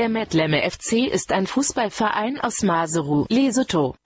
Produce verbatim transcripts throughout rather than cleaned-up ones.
Der Metleme F C ist ein Fußballverein aus Maseru, Lesotho.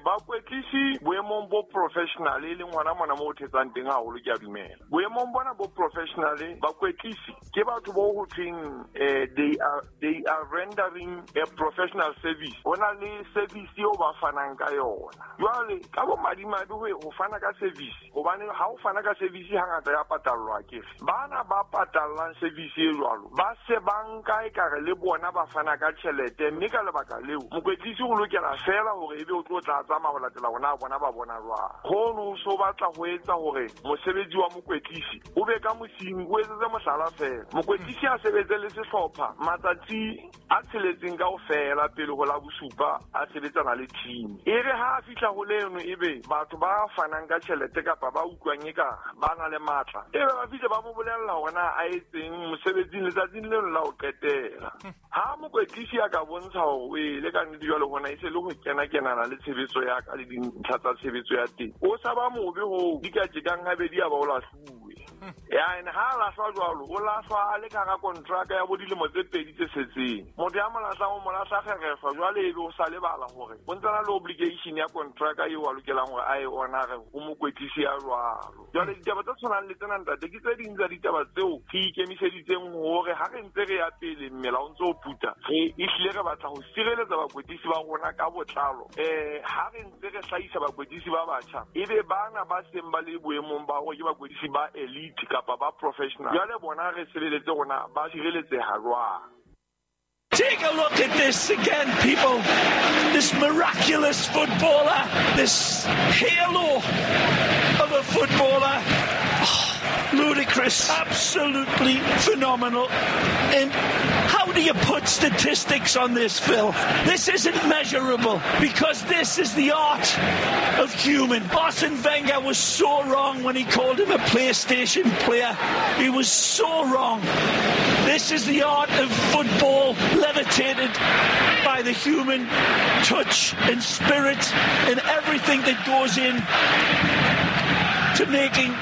Bakwetlisi boemong bo professional e leng hona mona mo thetsang teng haholo ke a dumela. Boemong bona bo professional bakwetlisi ke batho bo ho thweng they are they are rendering a professional service. Hona le service eo ba fanang ka yona. Jwale ka bo madimabe ho fana ka service hobane ha o fana ka service hangata ya patallwa ke. Bana ba patallang service e jwalo ba se banka e kare le bona ba fana ka tjhelete mme ka lebaka leo mokwetlisi o lokela fela hore ebe o tlo tla tsamaya ho latela hona bona ba bona jwang. Hono so batla ho etsa hore mosebetsi wa mokwetlisi o be ka mosing o etsetse mohlala fela. Mokwetlisi a sebetse le sehlopha matsatsi a tsheletseng kaofela pele ho la bosupa a sebetsana le team. E re ha a fihla ho leno ebe batho ba fanang ka tjhelete kapa ba utlwang e ka ba na le matla ebe ba fihle ba mo bolella hore na a etseng mosebetsing letsatsing leno la ho qetela. Ha mokwetlisi a ka bontsha hore o ile ka nnete jwale hona e se le ho kena kenana le tshebetso ya ka le dintlha tsa tshebetso ya teng o sa ba mobe ho di ka tjekang habedi a ba o lahluwe. Ya ene ha lahlwa jwalo o lahlwa a le ka hara kontraka ya bo dilemo tse pedi tse setseng. Motho ya mo lahlang o mo lahla kgerefa jwale ebe o sa lebala hore o ntse na le obligation ya kontraka eo a lokelang hore a e honare ho mokwetlisi ya jwalo. Jwale ditaba tse tshwanang le tsena ntate ke tse ding tsa ditaba tseo re ikemiseditseng hore ha re ntse re ya pele mmela o ntse o puta re ehlile re batla ho sireletsa bakwetlisi ba rona ka botlalo. Eh ha re ntse re hlahisa bakwetlisi ba batjha ebe bana ba seng ba le boemong ba hore ke bakwetlisi ba elite kapa ba professional jwale bona re sireletse rona ba sireletseha jwang. Take a look at this again, people. This miraculous footballer, this halo of a footballer. Oh, ludicrous, absolutely phenomenal. And how do you put statistics on this, Phil? This isn't measurable because this is the art of human. Arsene Wenger was so wrong when he called him a PlayStation player. He was so wrong. This is the art of football levitated by the human touch and spirit and everything that goes in to making